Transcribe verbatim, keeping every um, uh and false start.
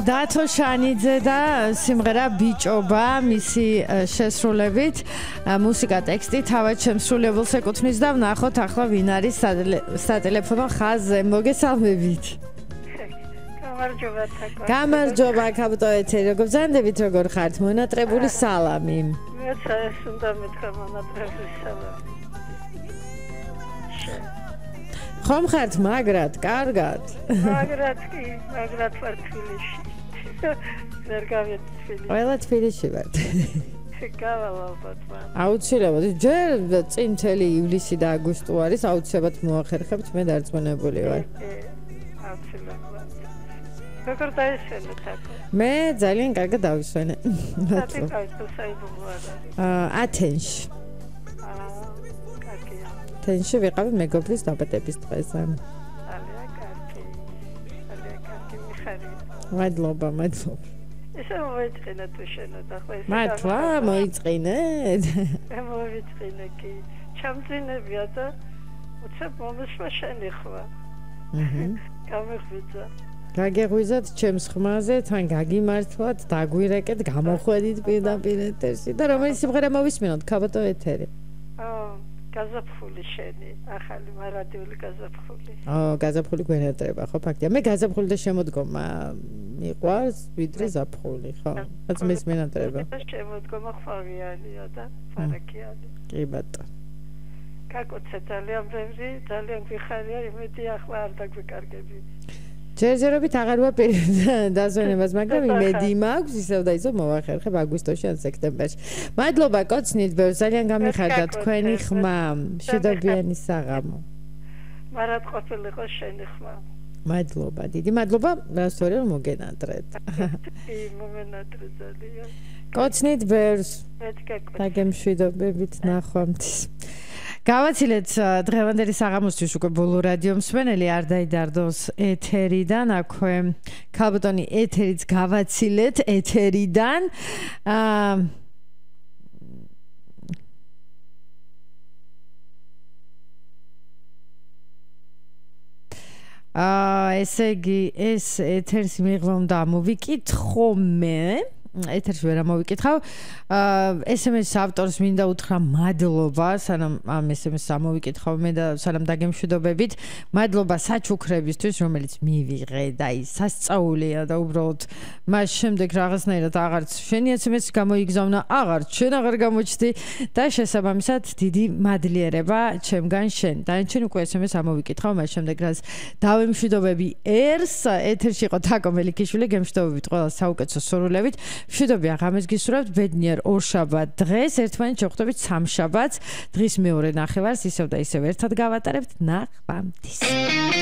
დათო შანიძე და სიმღერა ბიჭობა მისი შესრულებით მუსიკა ტექსტი თავად შემსრულებელს ეკუთვნის და ვნახოთ ახლა ვინ არის სატელეფონო ხაზზე. მოგესალმებით. გამარჯობა თაკო. გამარჯობა კაპიტო ეთერი. როგორ ბრძანდებით, როგორ ხართ? მონატრებული სალამი. მეც ეს უნდა მეთქვა მონატრებული სალამი. ხომ ხართ მაგრად, კარგად? მაგრად კი, მაგრად ვარ თბილისში. ვერ გავიეთ თბილისში. ყველა თბილისში ვართ. გავალავთ მან. აუცილებლად, ჯერ წინ მთელი ივლისი და აგვისტო არის, აუცილებლად მოახერხებთ, მე დარწმუნებული ვარ. აუცილებლად. როგორ დაისვენეთ თაკო? მე ძალიან კარგად დავისვენე. მადლობა. საერთოდ საიდუმლოა. აა ათენში. თენში ვიყავი მეგობრის დაბადების დღეზე. ძალიან კარგი. ძალიან კარგი მიხარია. მადლობა, მადლობა. ესე მოიწყინა თუ შენოთ ახლა ესე. მართლა მოიწყინეთ? მოიწყინე კი. ჩამძინებია და უცებ მომისმა შენი ხვა. აჰა. გამიხვიძა. გაგეღვიზათ ჩემს ხმაზე, თან გაგიმართლათ, დაგვირეკეთ, გამოხვედით პირდაპირ ეთერში და რომელიც სიმღერა მოვისმინოთ კაპიტო ეთერი. აა გაზაფხული შენი, ახალი მარადიული გაზაფხული. აა, გაზაფხული გვენატრება, ხო, ფაქტია. მე გაზაფხული და შემოდგომა მიყვარს, ვიდრე ზაფხული, ხო? რაც მის მენატრება. შემოდგომა ხვავიანია და ფარაკიანი. კი ბატონო. გაკოცე ძალიან ბევრი, ძალიან გვიხარია, იმედი ახლა არ დაგვიკარგები. ჯერჯერობით აღარ ვაპირებ დაზვენებას, მაგრამ იმედი მაქვს, ისევ და ისევ მოვახერხებ აგვისტოში ან სექტემბერში. მადლობა კოცნით ბევრს, ძალიან გამიხარდა თქვენი ხმა, მშვიდობიანი საღამო. მარად ყოფილიყო შენი ხმა. მადლობა, დიდი მადლობა, რასწორია რომ მოგენატრეთ. კი, მომენატრე ძალიან. კოცნით ბევრს. მეთქე. დაგემშვიდობებით ნახვამდის. გავაცილეთ დღევანდელი საღამოსთვის უკვე ბოლო რადიო მსმენელი არ დაიდარდოს ეთერიდან, აქვე კაპიტონი ეთერიც გავაცილეთ ეთერიდან. აა აა ესე იგი ეს ეთერს მიღვა უნდა მოვიკითხო მე. ეთერში ვერ ამოვიკითხავ. ეს ემ ეს ავტორს მინდა უთხრა მადლობა, სანამ ამ ეს ემ ეს ამოვიკითხავ მე და სანამ დაგემშვიდობებით. მადლობა საჩუქრებისთვის, რომელიც მივიღე და ის სასწაულია და უბრალოდ მას შემდეგ რაღაცნაირად აღარც შენი ეს ემ ეს გამოიგზავნა, აღარც შენ აღარ გამოჩდი და შესაბამისად დიდი მადლიერება ჩემგან შენ. დანარჩენ უკვე ეს ემ ეს ამოვიკითხავ, მას შემდეგ რაც დავემშვიდობები ერს, ეთერში იყო თაკო მელიქიშვილი, გემშვიდობებით ყველა საუკეთესო სურვილებით. მშვიდობი აღამეს გისურვებთ, ბედნიერ ორშაბათ დღეს, ერთმანეთს შევხვდებით სამშაბათს, დღის მეორე ნახევარს ისევ და ისევ ერთად გავატარებთ, ნახვამდის.